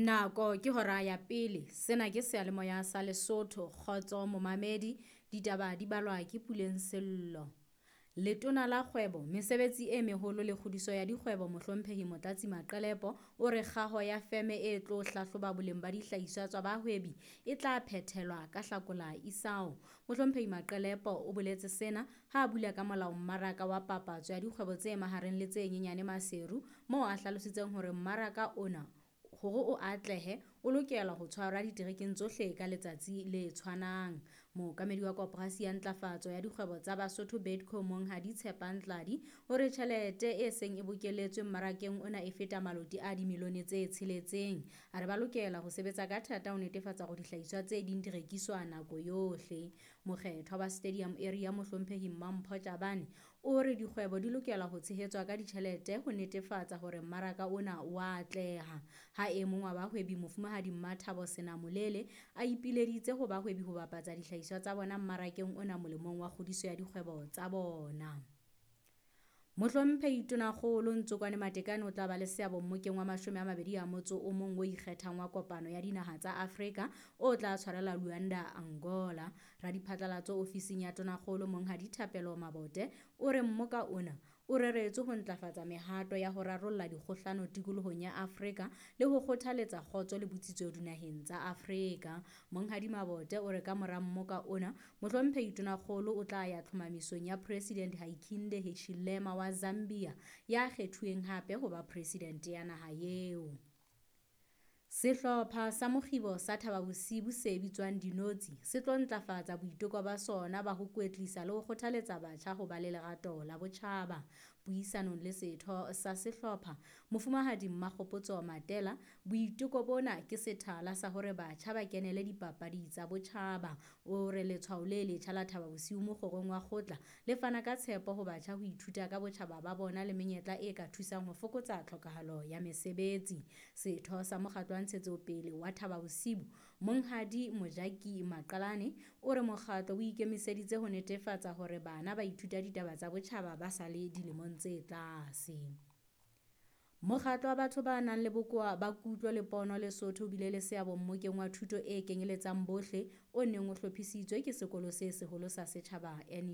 Nako ke hora ya pele. Sena ke seyalemoya sa Lesotho. Kgotso momamedi, ditaba di balwa ke Puleng Sello. Letona la Kgwebo, Mesebetsi e Meholo le Kgodiso ya Dikgwebo Mohlomphehi Motlatsi Maqelepo o re kgaho ya feme e tlo hlahloba boleng ba dihlahiswa tsa bahwebi e tla phethelwa ka Hlakola isao. Mohlomphehi Maqelepo o boletse sena ha a bula ka molao mmaraka wa papatso ya dikgwebo tse mahareng le tse nyenyane Maseru, moo a hlalositseng hore mmaraka ona hore o atlehe o lokela ho tshwarwa diterekeng tsohle ka letsatsi le tshwanang. Mookamedi wa Koporasi ya Ntlafatso ya Dikgwebo tsa Basotho Bidco Monghadi Tshepang Tladi o re tjhelete e seng e bokelletswe mmarakeng ona e feta maloti a dimilione tse 6. A re ba lokela ho sebetsa ka thata ho netefatsa hore dihlahiswa tse ding di rekiswa nako yohle. Mokgethwa wa Stadium Area Mohlomphehi Mampho Tjabane o re dikgwebo di lokela ho tshehetswa ka ditjhelete ho netefatsa hore mmaraka ona o a atleha. Ha e mong wa bahwebi Mofumahadi Mmathabo Senamolele a ipileditse ho bahwebi ho bapatsa dihlahiswa tsa bona mmarakeng ona molemong wa kgodiso ya dikgwebo tsa bona. Mohlomphehi Tonakgolo Ntsokoane Matekane o tla ba le seabo mmokeng wa 21 o ikgethang wa Kopano ya Dinaha tsa Afrika o tla tshwarelwa Luanda, Angola. Radiphatlalatso ofising ya Tonakgolo Monghadi Thapelo Mabote o re mmoka ona o reretswe ho ntlafatsa mehato ya ho rarolla dikgohlano tikolohong ya Afrika le ho kgothaletsa kgotso le botsitso dinaheng tsa Afrika. Monghadi Mabote o re ka mora mmoka ona, Mohlomphehi Tonakgolo o tla ya tlhomamisong ya President Hakainde Hichilema wa Zambia ya kgethuweng hape ho ba presidente ya naha eo. Sehlopha sa mokgibo sa Thaba Bosiu se bitswang Dinotsi se tlo ntlafatsa boiteko ba sona ba ho kwetlisa le ho kgothaletsa batjha ho ba le lerato la botjhaba. Puisanong le setho sa sehlopha, Mofumahadi Mmakgopotso Matela, boiteko bona ke sethala sa hore batjha ba kenele dipapadi tsa botjhaba. O re letshwao le letjha la Thaba Bosiu mokgorong wa kgotla le fana ka tshepo ho batjha ho ithuta ka botjhaba ba bona le menyetla e ka thusang ho fokotsa tlhokahalo ya mesebetsi. Setho sa mokgatlo wa ntshetsopele wa Thaba Bosiu, Monghadi Mojaki Maqalane, o re mokgatlo o ikemiseditse ho netefatsa hore bana ba ithuta ditaba tsa botjhaba ba sa le dilemong tse tlase. Mokgatlo wa batho ba nang le bokowa ba kutlo le pono Lesotho o bile le seabo mmokeng wa thuto e kenyeletsang bohle o neng o hlophisitswe ke sekolo se seholo sa setjhaba.